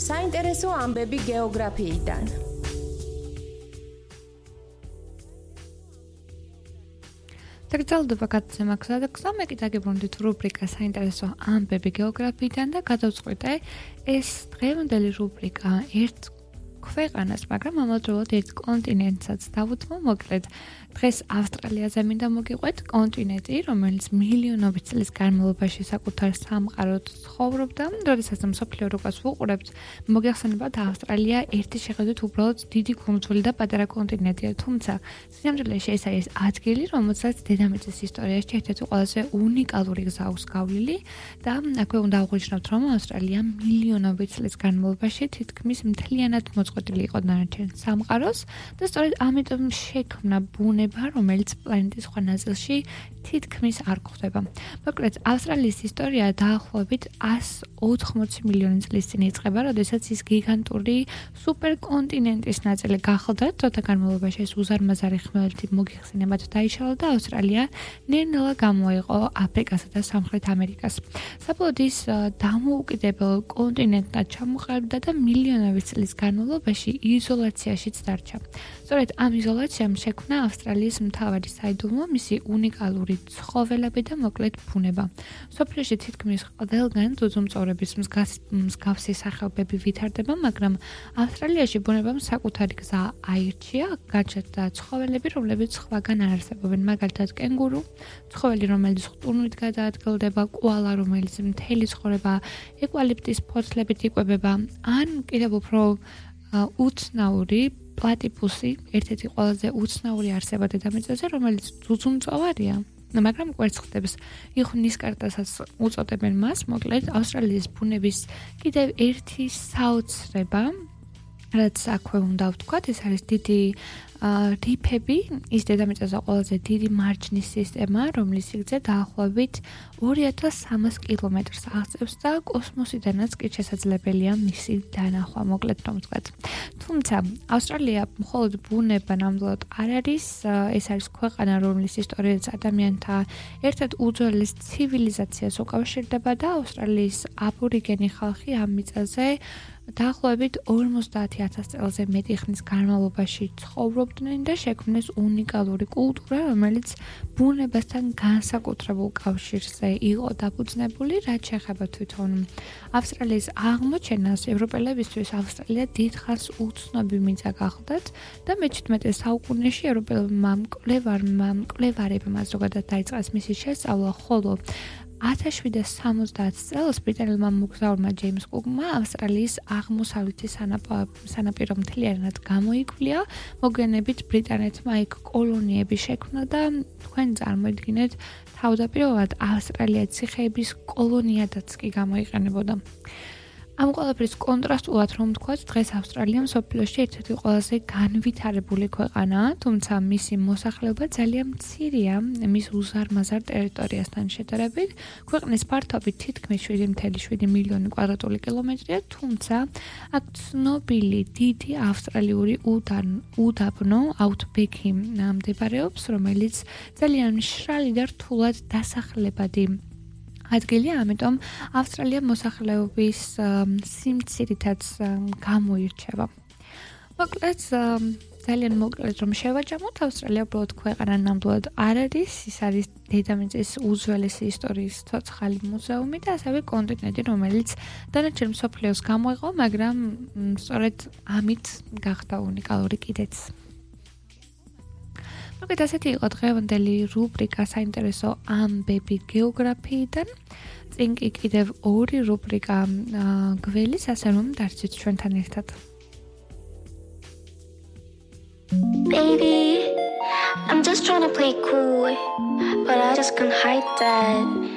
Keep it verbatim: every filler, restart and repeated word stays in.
საინტერესო ამბები გეოგრაფიიდან. დაგრძელდება გადაცემა გზა და გზა, მე კი დაგიბრუნდით რუბრიკა საინტერესო ამბები გეოგრაფიიდან და გადავწყვიტე ეს დღევანდელი რუბრიკა ერთ ქვეყანას, მაგრამ ამავდროულად ერთ კონტინენტსაც დავუთმო. მოკლედ, დღეს ავსტრალიაზე მინდა მოგიყვეთ, კონტინენტი, რომელიც მილიონობით წლის განმავლობაში საკუთარ სამყაროდ ცხოვრობდა. როდესაც მსოფლიო რუკას ვუყურებთ, მოგეხსენებათ, ავსტრალია ერთი შეხედვით უბრალოდ დიდი კუნძული და პატარა კონტინენტია, თუმცა სინამდვილეში ეს არის ადგილი, რომელსაც დედამიწის ისტორიაში ერთ-ერთი ყველაზე უნიკალური გზა აქვს გავლილი და აქვე უნდა აღვნიშნოთ, რომ ავსტრალია მილიონობით წლის განმავლობაში თითქმის მთლიანად მოწყვეტილი იყო დანარჩენ სამყაროს და სწორედ ამიტომ შექმნა ბუნება, რომელიც პლანეტის სხვა ნაწილში თითქმის არ გვხვდება. მოკლედ, ავსტრალიის ისტორია დაახლოებით εκατს ოთხმოცი მილიონი წლის წინ იწყება, როდესაც ის გიგანტური სუპერკონტინენტის ნაწილი გახლდა, დროთა განმავლობაში ეს უზარმაზარი ხმელეთი მოგიხსენებათ დაიშალა და ავსტრალია ნელ-ნელა გამოიყო აფრიკასა და სამხრეთ ამერიკას. საბოლოოდ ის დამოუკიდებელ კონტინენტად ჩამოყალიბდა და მილიონობით წლის განმავლობაში იზოლაციაშიც დარჩა. სწორედ ამ იზოლაციამ შექმნა ავსტრალიის მთავარი საიდუმლო, მისი უნიკალური ცხოველები და მოკლედ ბუნება. სოფლიოში თითქმის ყველგან ძუძუმწოვრების მსგავსი სახეობები ვითარდება, მაგრამ ავსტრალიაში ბუნებამ საკუთარი გზა აირჩია, გაჩნდა ცხოველები, რომლებიც სხვაგან არ არსებობენ, მაგალითად კენგურუ, ცხოველი, რომელიც ხტუნვით გადაადგილდება, კოალა, რომელიც მთელი ცხოვრება ევკალიპტის ფოთლებით იკვებება, ან კიდევ უფრო უცნაური პლატიპუსი, ერთ-ერთი ყველაზე უცნაური არსება დედამიწაზე, რომელიც ძუძუმწოვარია, მაგრამ კვერცხებს იხვნისკარტასაც უწოდებენ მას. მოკლედ, ავსტრალიის ბუნების კიდევ ერთი საოცრება, რაც აქვე უნდა ვთქვათ, ეს არის დიდი რიფები, ის დედამიწაზე ყველაზე დიდი მარჯნის სისტემა, რომლის სიგრძე დაახლოებით ორი ათას სამას კილომეტრს აღწევს და კოსმოსიდანაც კი შესაძლებელია მისი დანახვა, მოკლედ რომ ვთქვათ. თუმცა, ავსტრალია მხოლოდ ბუნება ნამდვილად არ არის, ეს არის ქვეყანა, რომლის ისტორიაც ადამიანთა ერთ-ერთ უძველეს ცივილიზაციას უკავშირდება და ავსტრალიის აბორიგენი ხალხი ამ მიწაზე დაახლოებით ორმოცდაათი ათას წელზე მეტი ხნის განმავლობაში ცხოვრობდნენ და შექმნეს უნიკალური კულტურა, რომელიც ბუნებასთან განსაკუთრებულ კავშირზე იყო დაფუძნებული, რაც შეეხება თვითონ ავსტრალიის აღმოჩენას. ევროპელებისთვის ავსტრალია დიდხანს უცნობი მიწა გახლდათ და მეჩვიდმეტე საუკუნეში ევროპელებმა მკვლევარმა მკვლევარებმა ზოგადად დაიწყეს მისი შესწავლა, ხოლო ათას შვიდსათ სამოცდაათ წელს ბრიტანელმა მოგზაურმა ჯეიმს კუკმა ავსტრალიის აღმოსავლეთი სანაპირო მთლიანად გამოიკვლია, მოგვიანებით ბრიტანეთმა იქ კოლონიები შექმნა და თქვენ წარმოიდგინეთ, თავდაპირველად ავსტრალია ციხეების კოლონიადაც კი გამოიყენებოდა. ამ ყველაფრის კონტრასტულად რომ ვთქვათ, დღეს ავსტრალია მსოფლიოში ერთ-ერთი ყველაზე განვითარებული ქვეყანაა, თუმცა მისი მოსახლეობა ძალიან მცირეა მის უზარმაზარ ტერიტორიასთან შედარებით. ქვეყნის ფართობი თითქმის შვიდი ათეული შვიდი მილიონი კვადრატული კილომეტრია, თუმცა აქ ცნობილი დიდი ავსტრალიური უდაბნო აუთბექი მდებარეობს, რომელიც ძალიან მშრალი და რთულად დასახლებადი ადგილია, ამიტომ ავსტრალია მოსახლეობის სიმცირითაც გამოირჩევა. მოკლედ, ძალიან მოკლედ რომ შევაჯამოთ, ავსტრალია უბრალოდ ქვეყანა ნამდვილად არ არის, ის არის დედამიწის უძველესი ისტორიის ცოცხალი მუზეუმი და ასევე კონტინენტი, რომელიც დანარჩენ მსოფლიოს გამოიყო, მაგრამ სწორედ ამით გახდა უნიკალური კიდეც. მოკლედ, ასეთი იყო დღევანდელი რუბრიკა საინტერესო ამბები გეოგრაფიიდან. წინ კი კიდევ ორი რუბრიკა გველის, ასე რომ დარჩით ჩვენთან ერთად. Baby, I'm just trying to play cool, but I just can't hide that